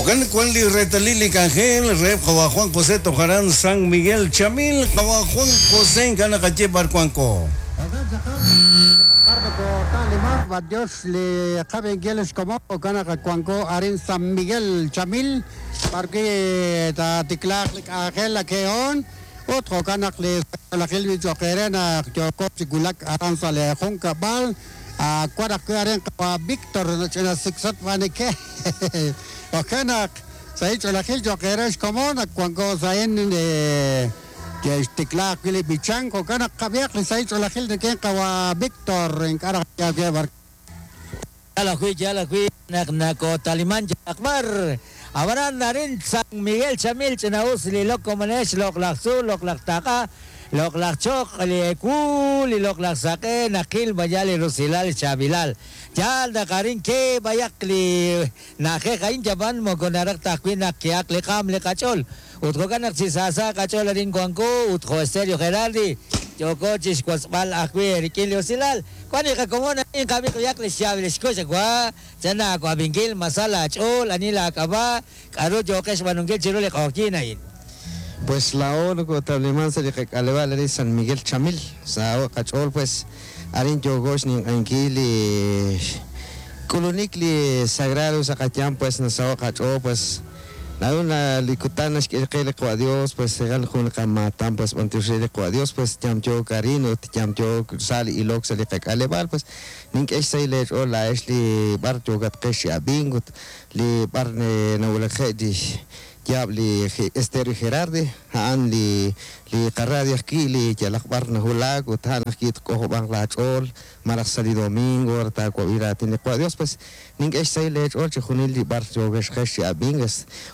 Jo'kan wan li reetalil li k'anjel reheb' qawa' Juan José toj aran San Miguel Chamil. Qawa' Juan José ink'a' naqaye b'ar wanko. Jo'kan tz'aqal b'ar nokota'limank b'antiox li qab'inkil xkomon jo'kan naq wanko arin San Miguel Chamil b'arwi' taatiklaaq li k'anjel ake'on ut jo'kan naq li saqlaqil wi' cho'q eere naq yooko chi wulak aran sa' li junkab'al Wan ajwi' arin qawa' Víctor ch'ina siksot b'aanike. Jo'kan naq sahil ch'oolejil cho'q eere xkomon ak wanko sa' a'in ke'xtikla ajwi' li b'ichank. Jo'kan naq qab'ihaq li sahil ch'oolejil rik'in qawa' Víctor ink'a' raj yaal we b'ar. Yaal ajwi', yaal ajwi' naq nakootaliman yalaq b'ar. Ab'anan arin San Miguel Chamil ch'ina'us li lok komonex, loq'laj tzuul, loq'laj taq'a, loq'laj choq, li ewu, li loq'laj saq'e, naqil b'ayaq li rusilal li chaab'ilal. Yaal naq arin ke b'ayaq li na'ajej a'in yab'an moko naraj ta ajwi' naq kehaq li qaam li qach'ool. Ut jo'kan naq chi saasa qach'ool arin wanko ut jo' Stereo Gerardi yooko chixwotzb'al ajwi' eerik'in li usilal. Wan li qakomon a'in qab'i b'ayaq li xyaab' li xkux wa chan aawab'inkil ma sa laach'ool, ani laak'ab'a', k'a'ru yooqex xb'aanunkil chiru li q'oqyink a'in. Pues laa'o nokotawliman sa' li qak'aleb'aal arin San Miguel Chamil. Saho' qach'ool pues arin yooko xninq'ehinkil li xk'ulunik li sagrado sa' qayanq pues nasaho' qach'ool pues Naru na li kutan naxk'e qe li Qawa' Dios, pues tz'aqal jun li qamaatan, pues b'antiox re li Qawa' Dios, pues yamyook arin ut yamyook sa' li ilok sa' li qak'aleb'aal, pues nink'e xsahil eech'ool laa'ex li b'ar yookatqex chi ab'ink ut li b'ar nawulakje' li xyaab' li Estéreo Gerardi, a'an li li qaradio ajwi' li yalaq b'ar nawulak ut a'an ajwi' tk'ojob'anq laach'ool malaj sa' li domingo re taawab'i raatin li Qawa' Dios, pues Nink'e xsahil eech'ool chixjunil li b'ar yookexqex chi ab'ink,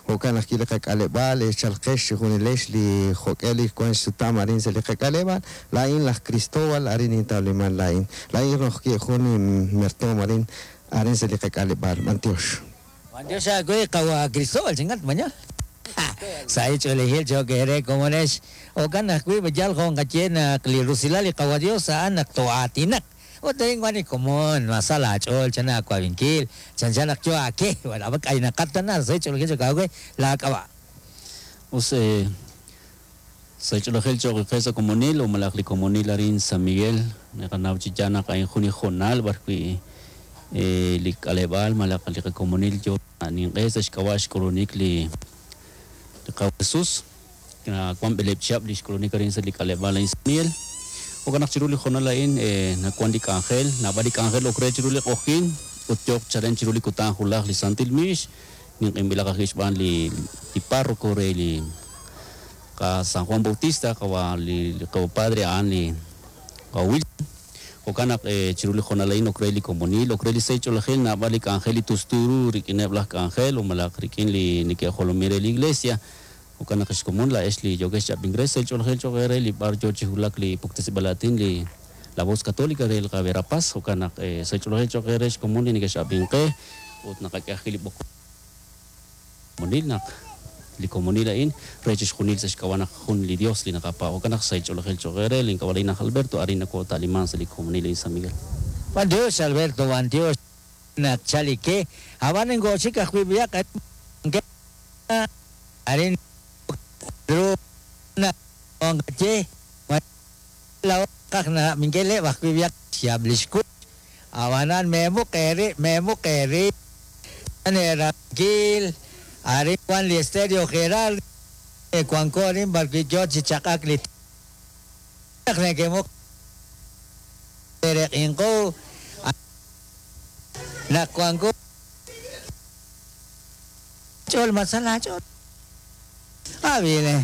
jo'kan ajwi' li qak'aleb'aal, chalqex chixjunilex li jo'k'e li wank xsutam arin sa' li qak'aleb'aal. Laa'in laj Cristóbal, arin nintawliman laa'in. Laa'in rojki jun inmertoom arin, arin sa' li qak'aleb'aal. B'antiox. B'antiox aawe, qawa' Cristóbal, chinkat mañal. Sahil ch'oolejil cho'q eere, komonex. Jo'kan ajwi', yal jo' nqaye naq li rusilal li Qawa' Dios a'an naq too'aatinaq. Ut arin wan li komon, ma sa laach'ool chan aawab'inkil, chanchan naq yo aake, ab'an k'aynaqat tana, sa' ch'oolejil cho'q aawe laak'ab'a'. Us sa' ch'oolejil cho'q qe sa' komonil o malaj li komonil arin San Miguel, naqanaw chi yaal naq a'in jun li hoonal b'ar wi' li k'aleb'aal malaj li qakomonil yo ninq'e sa' xk'ab'a' xk'ulunik li Qawa' Jesus. Nawank b'eleeb' chihab' li xk'ulunik arin sa' li k'aleb'aal a'in San Miguel. Jo'kan naq chiru li hoonal a'in nawank li k'anjel, naab'al li k'anjel ok re chiru li q'oqyink ut yooq chalen chiru li kutan julaj li Santil Miix, ninq'inb'ilaq ajwi' xb'aan li párroco re li qa San Juan Bautista, qawa' li qawa' padre a'an li qawa' Wilson. Jo'kan naq chiru li hoonal a'in ok re li komonil, ok re li sahil ch'oolejil, naab'al li k'anjel li tustu ru rik'ineb' laj k'anjel o malaj rik'in li neke'jolomin re li iglesia. Jo'kan naq xkomon laa'ex li yookex chi ab'ink re, sahil ch'oolejil cho'q eere li b'ar yoo chi wulak li puktesib'al aatin li La Voz Católica re El Verapaz. Jo'kan naq sahil ch'oolejil cho'q eere xkomon li nekex'ab'ink qe ut naqak'e ajwi' li b'oqom komonil naq li komonil a'in re chixjunil sa' xk'ab'a' naq jun li Dios li naqapaab'. Jo'kan naq sahil ch'oolejil cho'q eere, lin k'ab'a' laa'in aj Alberto, arin nakoota'liman sa' li komonil a'in San Miguel. B'antiox Alberto, b'antiox naq chal li ke. Ab'an ink'oxik ajwi' b'ayaq arin ru naq nqaye laa'o naqaj nab'inkileb' ajwi' b'ayaq xyaab' li xkux ab'anan meemuq eerib' meemuq eerib' eerab'inkil arin wan li Estéreo Gerardi wanko arin b'arwi' yoo chi chaq'ak li naq neke'muq eereq'inqu naq wanko Ch'ool ma sa laach'ool. Ab'i le.